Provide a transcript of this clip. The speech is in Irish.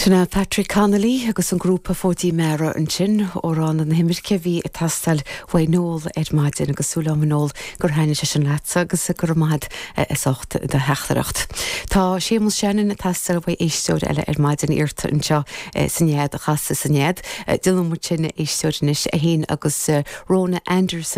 Sin é Patrick Connolly agus an grúpa Fóidín Meara ansin, amhrán na himirce a bhí ag teastáil uaidh Noel ar maidin agus súil agam a Noel gur thaitnigh sé sin leatsa agus go raibh maith agat as ucht do theachtaireacht. Tá Séamus Shannon ag teastáil uaidh éisteoir eile ar maidin iarrta anseo sa nead a chasadh sa nead. Déanfaidh muid sin a éisteoir anois, é féin agus Rona Anderson.